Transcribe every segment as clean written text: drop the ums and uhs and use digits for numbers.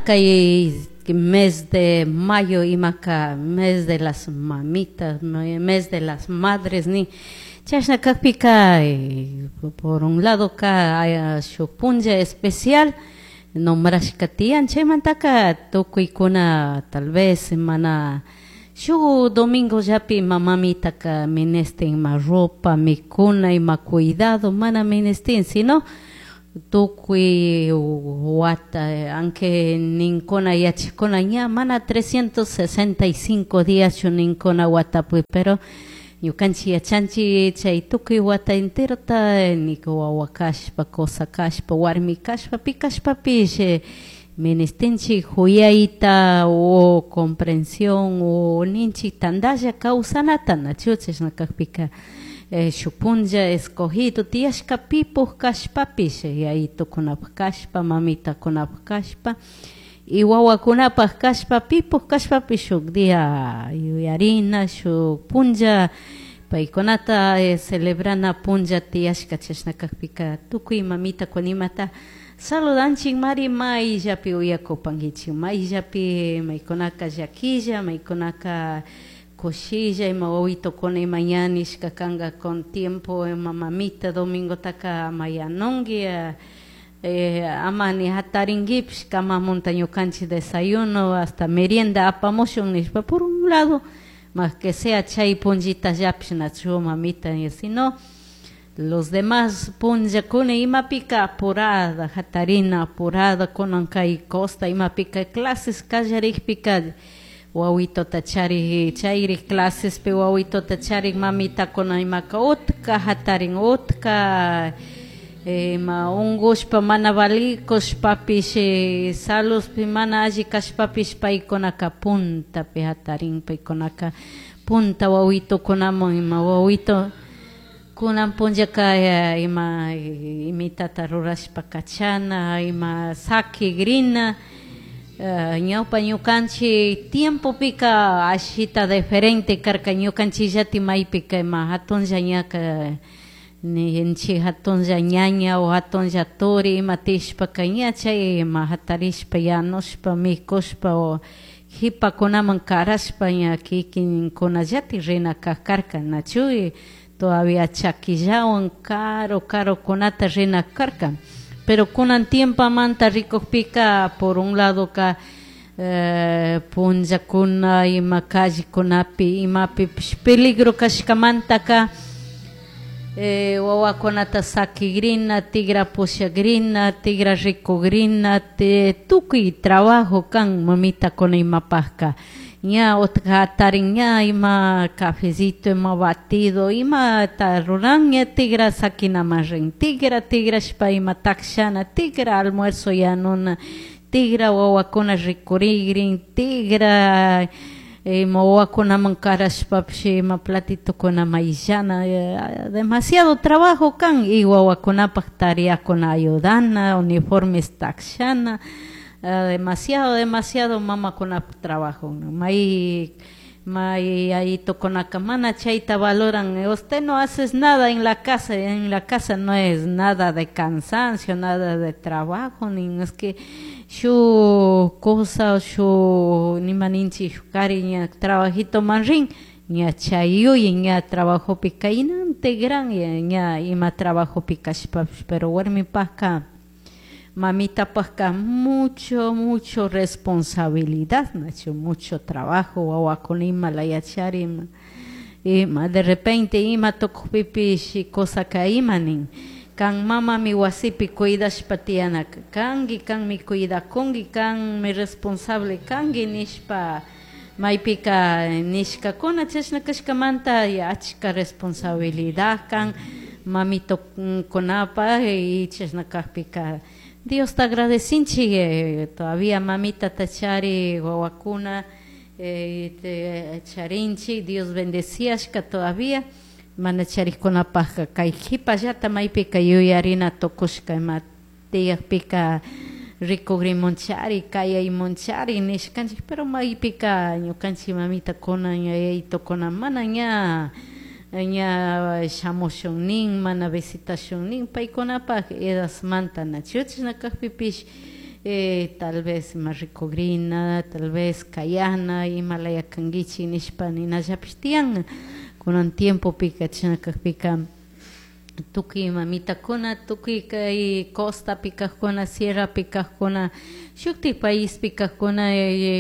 Kay mes de mayo imaka mes de las mamitas, mes de las madres nin. Chashna kakpika, por un lado ka shuk punlla especial nombrashka tiyan, chaymantaka tukuykuna tal vez mana shuk domingollapi ima mamitaka ministin ima ropa, mikuna, ima cuidado, mana ministin, sino tukuy wata, aunque ninkuna yachakuna ña mana 365 díaschu ninkuna watapi, pero ñukanchik yachanchik chay tukuy wata enterota nik wawa kashpa, kusa kashpa, warmi kashpa, pi kashpapish ministinchik juyayta o comprensión o ninchik tandalla kawsanata, nachu? Chashna kakpika shuk punlla escogido tiyashka pipuk kashpapish, yayitukunapak kashpa, mamitakunapak kashpa y wawakunapak kashpa, pipuk kashpapish shuk día yuyarina, shuk punlla paykunata celebrana punlla tiyashka. Chashna kakpika tukuy mamitakuna imata saludanchik mari, mayllapi uyakupankichik, mayllapi, maykunaka llaquilla, maykunaka kushilla, ima wawitokuna ima ña nishka kanka con tiempo ima mamita domingotaka ama yanunki, ama ni hatarinkipish, kamamunta ñukanchik desayuno hasta merienda apamushun nishpa. Por un lado, más que sea chay punllitallapish, nachu, mamita? Sino los demás punllakuna imapika apurada hatarina, apurada kunan kay costa imapika clases kallarikpika, wawitota charik, chayrik clasespi wawitota charik mamitakuna imaka utka hatarin, utka ima ungushpa mana valikushpapish, saludpi mana alli kashpapish, paykunaka puntapi hatarin, paykunaka punta wawitukunaman ima wawito kunan punllaka ima imitata rurashpa kachana, ima sakigrina. Ñawpa ñukanchik tiempopika ashita diferente karka. Ñukanchikllati maypika ima hatunlla ñaka ninchik, hatunlla ñaña o hatunlla turi ima tishpaka ña chay ima hatarishpa, yanushpa, mikushpa o jipakunaman karashpa ña kikinkunallati rina karka, nachu? Todavía chaquillawan caro carokunata rina karka. Pero kunan tiempomanta rikukpika, por un lado ka punllakuna ima callekunapi imapipish peligro kashkamantaka wawakunata sakigrina, tigra pushagrina, tigra rikugrina, tukuy trabajo kan mamitakuna imapajka. Ña utka hatarin, ña ima cafecito, ima batido, ima ta ruran, ña tigra sakinaman rin, tigra tigrashpa ima takshana, tigra almuerzo yanuna, tigra wawakuna rikurigrin, tigra ima wawakunaman karashpapish ima platitokuna mayllana, demasiado trabajo kan y wawakunapak tareakuna ayudana, uniformes takshana, demasiado, demasiado mamakunapak trabajo. May may yayitukunaka mana chayta valoran. "Usted no haces nada en la casa". En la casa no es nada de cansancio, nada de trabajo, ni es que shuk cosa, shuk nima ninchik, shuk kari ña trabajito man rin, ña chay ña trabajopi kaynante gran ña ima trabajopi kashpapish, pero warmipakka, mamitapakka mucho, mucho responsabilidad, nachu? Mucho trabajo, wawakuna ima layachari, ima ima de repente ima tukukpipish cosaka ima nin kan mamami wasipi cuidashpa tiyanaka kanki, kanmi cuidakunki, kanmi responsable kanki nishpa maypika nishkakuna. Chashna kashkamanta achka responsabilidad kan mamitokunapa y chashna kakpika Diosta agradecinchik todavía mamitata chari wawakuna charinchik, Dios bendeciashka todavía. Mana charikkunapakka kay kipallata maypika yuyarina tukushka ima tiyakpika rikugrimunchari, kayaymunchari nishkanchik, pero maypika ñukanchik mamitakuna, yayaytukuna mana ña ña shamushun nin, mana visitashun nin paykunapak edadmanta, nachu? Chashna kakpipish Tal vez ima rikugrina, tal vez kayana imalaya kanguichik nishpa ninallapish tiyan kunan tiempopika. Chashna kakpika tukuy mamitakuna, tukuy kay costapi kakkuna, sierrapi kakkuna, shuktik paispi kakkuna,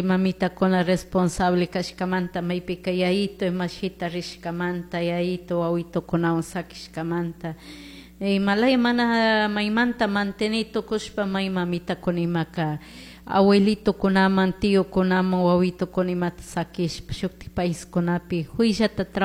mamitakuna responsable kashkamanta, maypika yayito imashita rishkamanta, yayito wawitukunawan sakishkamanta, imalaya mana maymanta manteni tukushpa, may mamitakuna imaka abuelitokunaman, tiokunaman wawitukuna imata sakishpa shuktik paiskunapi huyllata.